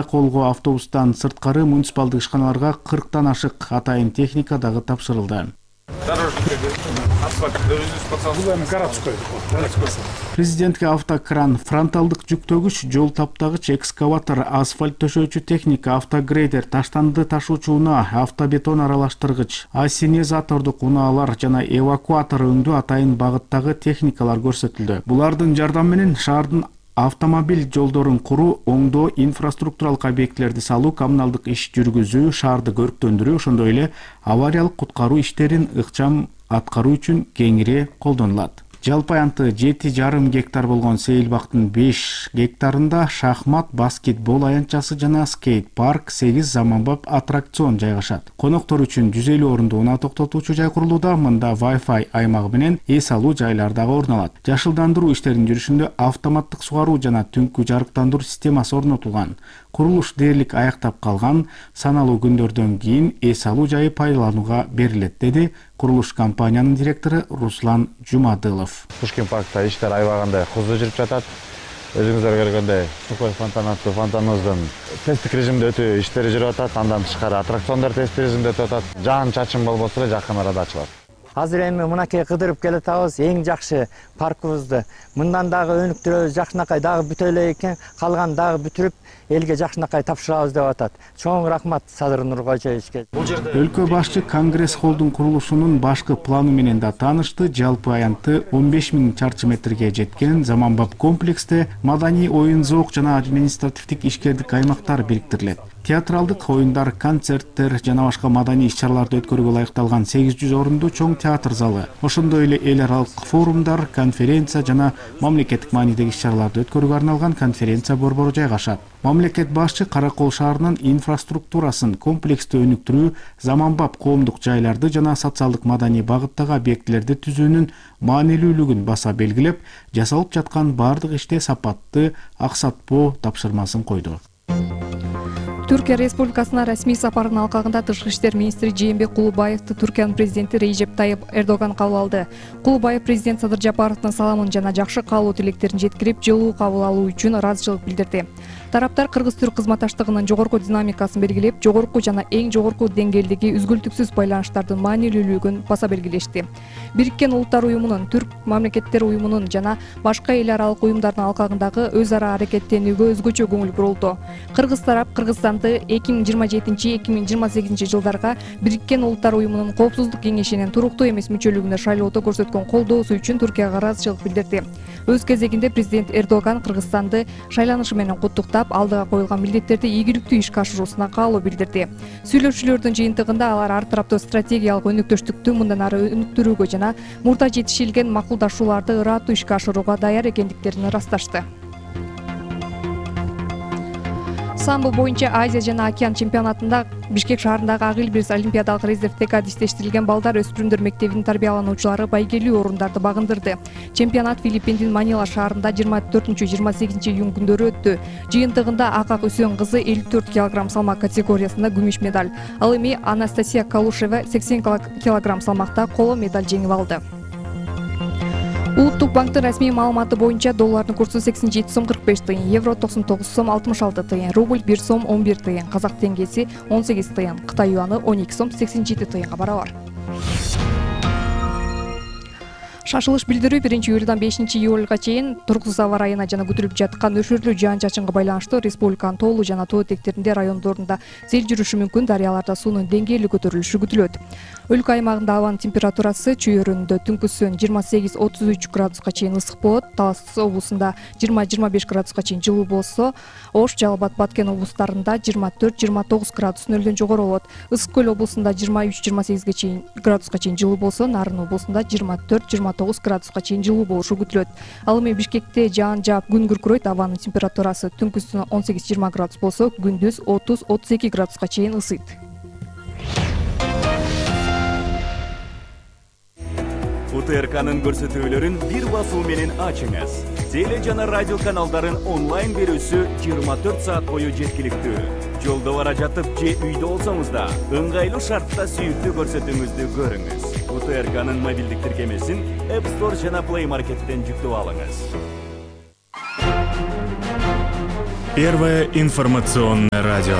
Караколго автобустан сырткары муниципалдык ишканаларга 40тан ашык атайын техника дагы тапшырылды. Президентке автокран, фронталдык жүктөгүч, жол таптагыч, экскаватор, асфальт төшөөчү техника, автогрейдер, таштанды ташуучу унаа, автобетон аралаштыргыч, ассенизатордук унаалар жана эвакуатор өңдүү атайын багыттагы техникалар көрсөтүлдү. Булардын жардамы менен шаардын автомобиль жолдорун куруу, оңдоо, инфраструктуралык объектилерди салуу, коммуналдык иш жүргүзүү, шаарды көрктөндүрүү, ошондой эле авариялык куткаруу иштерин ыкчам аткаруу үчүн кеңири колдонулат. Жалпы аянты 7,5 гектар болгон сейилбактын 5 гектарында шахмат, баскетбол аянтчасы жана скейт парк, 8 заманбап аттракцион жайгашат. Коноктор үчүн 150 орунду унаа токтотуучу жай курулууда, мында Wi-Fi аймагы менен эс алуу жайлар дагы орун алат. Жашылдандыруу иштеринин жүрүшүндө автоматтык сугаруу жана түнкү жарыктандыруу системасы орнотулган. Курулуш дээрлик аяктап калган, саналуу күндөрдөн кийин эс алуу жайы пайдаланууга берилет, деди курулуш компаниянын директору Руслан Жумадылов. Пушкин паркта иштер аябагандай кызуу жүрүп жатат. Өзүңүздөр көргөндөй Сухой фонтан аттуу фонтаныбыздын тесттик режимде өтүү иштери жүрүп атат. Андан тышкары аттракциондор тесттик режимде өтүп атат. Жаан чачым болбосо эле жакын арада ачылат. Азыр эми мынакей кыдырып келатабыз, эң жакшы паркыбызды. Мындан дагы өнүктүрөбүз, жакшынакай дагы бүтө эле экен, калган дагы бүтүрүп элге жакшынакай тапшырабыз деп атат. Чоң рахмат Садыр Нуркожоевичке. Өлкө башчы Конгресс холдун курулушунун башкы планы менен да таанышты. Жалпы аянты 15.000 чарчы метрге жеткен заманбап комплексте маданий, оюн зоок жана административдик ишкердик аймактар бириктирилет. Театралдык оюндар, концерттер жана башка маданий иш-чараларды өткөрүүгө ылайыкталган 800 орунду чоң театр залы, ошондой эле эл аралык форумдар, конференция жана мамлекеттик маанидеги иш-чараларды өткөрүүгө арналган конференция борбору жайгашат. Мамлекет башчы Каракол шаарынын инфраструктурасын комплекстүү өнүктүрүү, заманбап коомдук жайларды жана социалдык маданий багыттагы объектилерди түзүүнүн маанилүүлүгүн баса белгилеп, жасалып жаткан бардык иште сапатты, аксатпоо тапшырмасын койду. Түркия Республикасына расмий сапарынын алкагында Тышкы иштер министри Жээнбек Кулубаевди Түркиянын президенти Режеп Тайып Эрдоган кабыл алды. Кулубаев президент Садыр Жапаровдун саламын жана жакшы каалоо тилектерин жеткирип, жылуу кабыл алуу үчүн ыраазычылык билдирди. Тараптар кыргыз-түрк кызматташтыгынын жогорку динамикасын белгилеп, жогорку жана эң жогорку деңгээлдеги үзгүлтүксүз байланыштардын маанилүүлүгүн баса белгилешти. Бириккен Улуттар уюмунун, Түрк мамлекеттер уюмунун жана башка эл аралык уюмдардын алкагындагы өз ара аракеттенүүгө өзгөчө көңүл бурулду. Кыргыз тарап Кыргызстанды 2027-2028 жылдарга Бириккен Улуттар уюмунун Коопсуздук кеңешинин туруктуу эмес мүчөлүгүнө шайлоодо көрсөткөн колдоосу үчүн Түркияга ыраазычылык билдирди. Өз кезегинде президент Эрдоган Кыргызстанды шайланышы менен куттуктап, алдыга коюлган милдеттерди ийгиликтүү ишке ашыруусуна каалоо билдирди. Сүйлөшүүлөрдүн жыйынтыгында алар ар тараптуу стратегиялык өнүктөштүктү мындан ары өнүктүрүүгө жана мурда жетишилген макулдашууларды ыраттуу ишке ашырууга даяр экендиктерин ырасташты. Самбо боюнча Азия жана океан чемпионатында Бишкек шаарындагы Ак Илбирс олимпиадалык резервдеги адистештирилген балдар өспүрүмдөр мектебинин тарбиялануучулары байгелүү орундарды багындырды. Чемпионат Филиппиндин Манила шаарында 24-28 июнь күндөрү өттү. Жыйынтыгында Акак Үсөн кызы 54 кг салмак категориясында күмүш медаль, ал эми Анастасия Калушева 80 кг салмакта коло медаль жеңип алды. Улуттук банктын расмий маалыматы боюнча доллардын курсу 87 сом 45 тыйын, евро 99 сом 66 тыйын, рубль 1 сом 11 тыйын, казак теңгеси 18 тыйын, Кытай юаны 12 сом 87 тыйынга барабар. Шашылыш билдирүү 1-июлдан 5-июлга чейин тургусуз аба ырайына жана күтүлүп жаткан өшүрлүү жаан-чачынга байланыштуу республиканын тоолуу жана тоо этектеринде райондорунда сел жүрүшү мүмкүн, дарыяларда суунун деңгээли көтөрүлүшү күтүлөт. Өлкө аймагында абанын температурасы чүйөрүндө түнкүсүн 28-33 градуска чейин ысык болот, Талас облусунда 20-25 градуска чейин жылуу болсо, Ош, Жалал Абад, Баткен облустарында 24-29 градус нөлдөн жогору болот. Ысык Көл облусунда 23-28 чейин градуска чейин жылуу болсо, Нарын облусунда 24-29 градуска чейин жылуу болушу күтүлөт. Ал эми Бишкекте жаан жаап күн күркүрөйт, абанын температурасы түнкүсүн 18-20 градус болсо, күндүз 30-32 градуска чейин ысыйт. УТРКнын көрсөтүүлөрүн бир басуу менен ачыңыз. Теле жана радио каналдарын онлайн берүүсү 24 саат бою жеткиликтүү. Жолдо бара жатып же үйдө болсоңуз да, ыңгайлуу шартта сүйүктүү көрсөтүүңүздү көрүңүз. УТРКнын мобилдик тиркемесин App Store жана Play Market'тен жүктөп алыңыз. Первое информационное радио.